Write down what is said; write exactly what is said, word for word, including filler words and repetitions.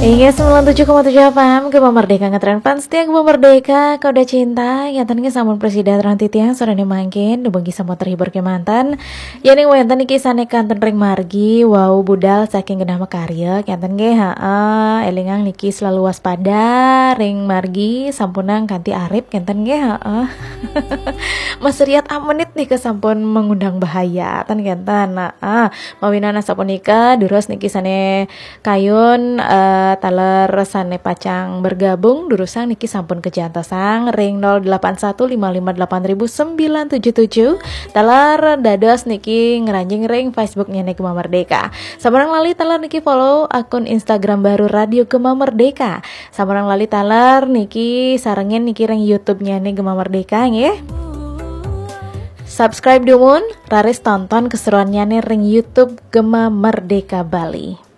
Inggih, sembilan tujuh koma tujuh F M, Gema Merdeka, ngetren fans setia Gema Merdeka, Koda Cinta. Ngénten nggih, sampun prasida terang titiang soré mangkin, dumugi sampun terhibur kémanten. Yéning wénten niki sané kantun ring margi, wau budal saking genah makarya, kénten nggih, heeh, élingang niki selalu waspada ring margi, sampunang kanthi arip, kénten nggih, heeh. Masriat amenit nika sampun mengundang bahaya, ten kénten. Nah, ah, mawinan asapunika, durus niki sané kayun, eh, taler sané pacang bergabung, durusang niki sampun kajantosang ring nol delapan satu lima lima delapan ribu sembilan tujuh tujuh. Taler dados niki ngranjing ring Facebooknya nih Gema Merdeka. Sampunang lali taler niki follow akun Instagram baru Radio Gema Merdeka. Sampunang lali taler niki sarengin niki ring YouTube-nya nih Gema Merdeka nggih. Subscribe dumun, raris tonton keseruannya nih ring YouTube Gema Merdeka Bali.